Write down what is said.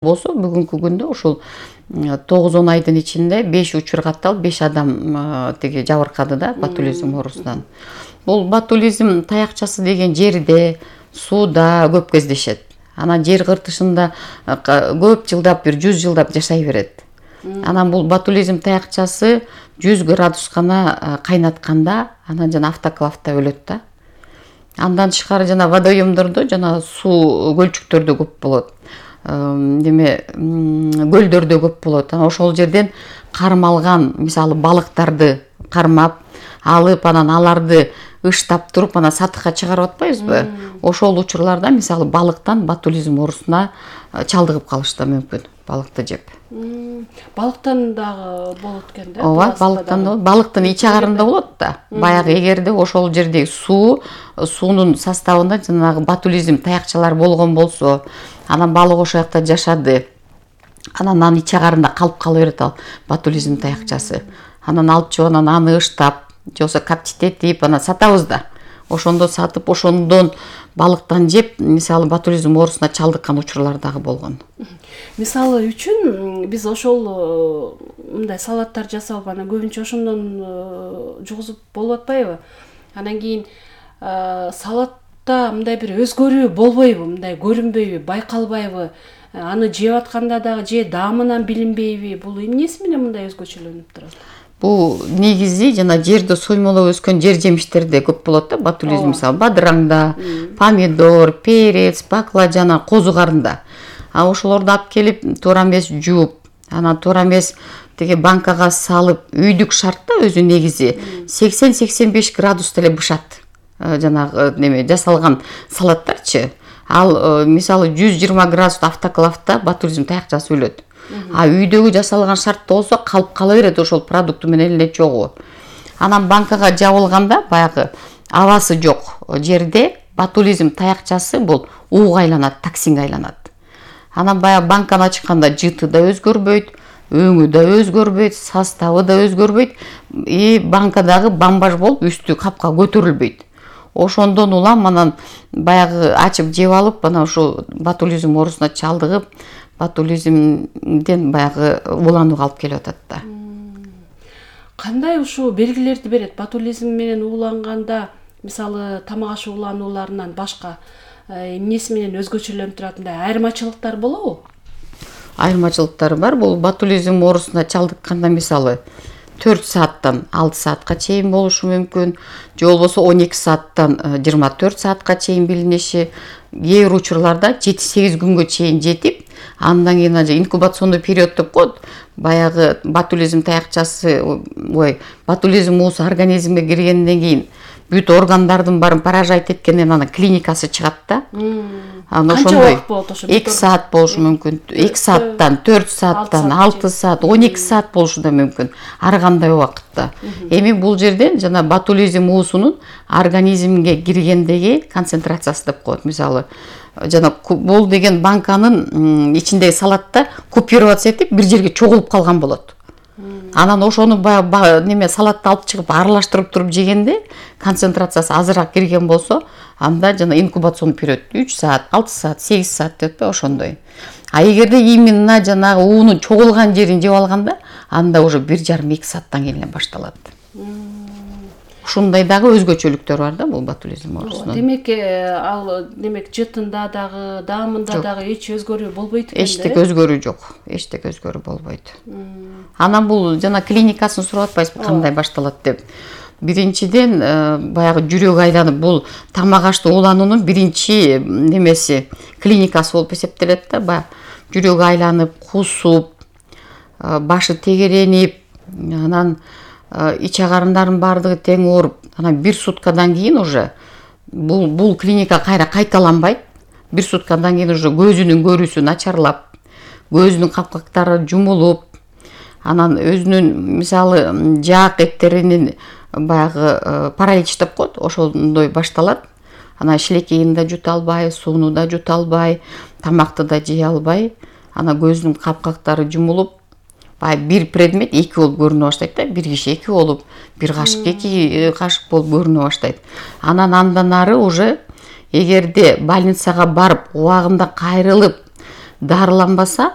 болсо бүгүнкү күндө ушул 9-10 айдын ичинде 5 учур катталып 5 адам тиги жабыркады да ботулизм оорусунан. Бул ботулизм таякчасы деген жерде, сууда көп кездешет. Анан жер кыртышында көп жылдап, 100 жылдап жашай берет. Анан бул ботулизм таякчасы 100 градус гана кайнатканда анан жана автоклавда өлөт да. Андан тышкары жана водоемдордо жана суу көлчүктөрдө көп болот. Көлдөрдө көп болот. Анан ошол жерден кармалган, мисалы балыктарды кармап, алып, анан аларды ыштап туруп, анан сатыкка чыгарып атпайбызбы? Ошол учурларда мисалы балыктан ботулизм оорусуна чалдыгып калышы да мүмкүн, балыкты жеп. Балыктан дагы болот экен да? Ооба, балыктан да, балыктын ич агарында болот да. Баягы эгерде ошол жердеги суунун составында жанагы ботулизм таякчалар болгон болсо, анан балык ошол жакта жашады. Анан анын ич агарында калып кала берет ал ботулизм таякчасы. Анан алып чыгып анан аны ыштап, же болбосо коптить анан сатабыз да. Ошондо сатып, ошондон балыктан жеп, мисалы ботулизм оорусуна чалдыккан учурлар дагы болгон. Мисалы үчүн биз ошол мындай салаттар жасап, анан көбүнчө ошондон жугузуп болуп атпайбы? Анан кийин салатта мындай бир өзгөрүү болбойбу, мындай көрүнбөйбү, байкалбайбы? Аны жеп атканда дагы же даамынан билинбейби? Бул эмнеси менен мындай өзгөчөлөнүп турат? Бул негизи жана жерде соймолоп өскөн жер жемиштерде көп болот да ботулизм, мисалы бадыраңда, помидор, перец, баклажан, козу карында. А ошолорду алып келип туура эмес жууп, анан туура эмес тиги банкага салып, үйдүк шартта өзү негизи 80-85 градуста эле бышат. Жанагы неме жасалган салаттарчы. Ал мисалы 120 градуста автоклавда ботулизм таякчасы өлөт. А үйдөгү жасалган шартта болсо калып кала берет ошол продукт менен эле чогуу. Анан банкага жабылганда баягы абасы жок жерде ботулизм таякчасы бул ууга айланат, токсинге айланат. Анан баягы банканы ачканда жыты да өзгөрбөйт, өңү да өзгөрбөйт, составы да өзгөрбөйт, банкадагы бамбаж болуп үстү капка көтөрүлбөйт. Ошондон улам анан баягы ачып жеп алып, анан ушул ботулизм оорусуна чалдыгып, ботулизмден баягы ууланууга алып келип атат да. Кандай ушул белгилерди берет? Ботулизм менен ууланганда, мисалы тамак аш ууланууларынан башка эмнеси менен өзгөчөлөнүп турат, мындай айырмачылыктар болобу? Айырмачылыктары бар. Бул ботулизм оорусуна чалдыкканда мисалы 4 сааттан 6 саатка чейин болушу мүмкүн, же болбосо 12 сааттан 24 саатка чейин билиниши, кээ бир учурларда 7-8 күнгө чейин жетип, андан кийин инкубационный период деп коет. Баягы ботулизм таякчасы, ботулизм уусу организмге киргенден кийин бүт органдардын баарын поражать эткенден анан клиникасы чыгат да. Анан ошондой 2 саат болушу мүмкүн, 2 сааттан 4 сааттан 6 саат, 12 саат болушу да мүмкүн. Ар кандай убакытта. Эми бул жерден жана ботулизм уусунун организмге киргендеги концентрациясы деп коет. Мисалы жана бул деген банканын ичиндеги салатта купироваться этип бир жерге чогулуп калган болот. Анан ошону неме салатты алып чыгып аралаштырып туруп жегенде концентрациясы азыраак кирген болсо, анда жана инкубационный период 3 саат, 6 саат, 8 саат деп ошондой. А эгерде именно жанагы уунун чогулган жерин жеп алганда, анда уже 1,5-2 сааттан кийин эле башталат. Ушундай дагы өзгөчөлүктөр бар да бул ботулизм оорусунун. Демек, ал жытында дагы, даамында дагы эч өзгөрүү болбойт экен да? Эчтек өзгөрүү жок. Эчтек өзгөрүү болбойт. Анан бул жана клиникасын сурап атпайсызбы, кандай башталат деп. Биринчиден баягы жүрөк айланып, бул тамак ашты уулануунун биринчи немеси клиникасы болуп эсептелет да. Баягы жүрөк айланып, кусуп, башы тегеренип, анан ич агарындардын баардыгы тең ооруп, анан 1 суткадан кийин уже бул клиника кайра кайталанбайт. 1 суткадан кийин уже көзүнүн көрүүсү начарлап, көзүнүн капкактары жумулуп, анан өзүнүн мисалы жаак эттеринин баягы паралич деп коет, ошондой башталат. Анан шилекейин да жута албай, сууну да жута албай, тамакты да жей албай, анан көзүнүн капкактары жумулуп, бир предмет 2 болуп көрүнө баштайт да, бир киши 2 болуп, бир кашык 2 кашык болуп көрүнө баштайт. Анан андан ары уже эгерде больницага барып, убагында кайрылып, дарыланбаса